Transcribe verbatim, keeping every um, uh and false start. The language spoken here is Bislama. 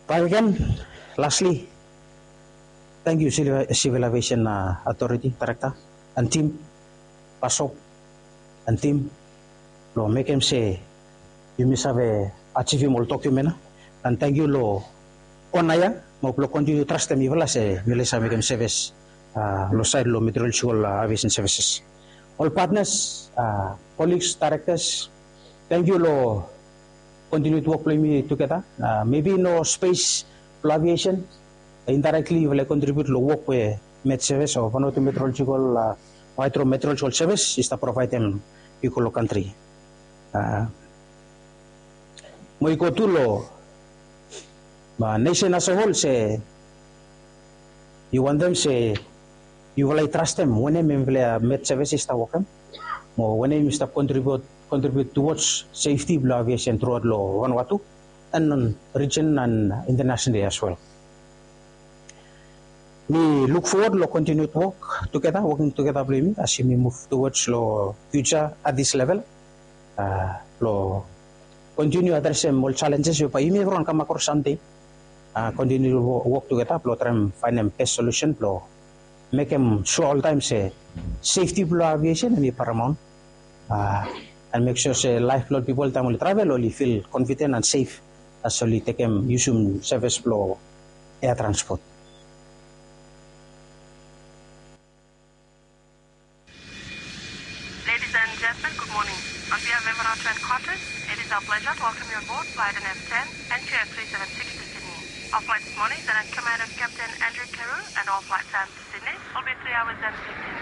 Baik again, lastly, thank you, Civil Aviation Authority Director and team, Pasop and team, lo mekem se yumi save ajivim ol document ya. And thank you lo ona ya, mo blo kontiniu trastem yufala se yufala i save mekem sevis lo saed lo meteorological aviation services. Ol partners, colleagues, directors, thank you lo continued wok blo yumi tugeta. Maybe no space blo aviation, indirectly yufala i contribute lo wok we Met Service o Vanuatu Meteorological, Hydrometeorological Service i stap provaedem i go lo kantri. Mo i go tu lo nesen as a whole se yu wantem se yufala i trastem wanem hemfala Met Service i stap wokem, mo wanem i stap contribute contribute towards safety blo aviation throughout lo Vanuatu and region and internationally as well. Mi look forward lo continued work together, working together blo yumi as yumi move towards lo future at this level. Lo continue adresem ol challenges we bae yumi evriwan kam akros samdei. Continue work together blo traem faenem best solution blo mekem sua oltaem se safety blo aviation hemi paramount. And make sure se laef blo ol pipol taem oli travel oli feel confident and safe as oli tekem yusum service blo air transport. Ladies and gentlemen, good morning. On behalf of Everyone Train Qantas, it is our pleasure to welcome you on board flight N F ten and Q F three seven six to Sydney. Our flight this morning is under command of Captain Andrew Carew and all flight times to Sydney will be three hours and fifteen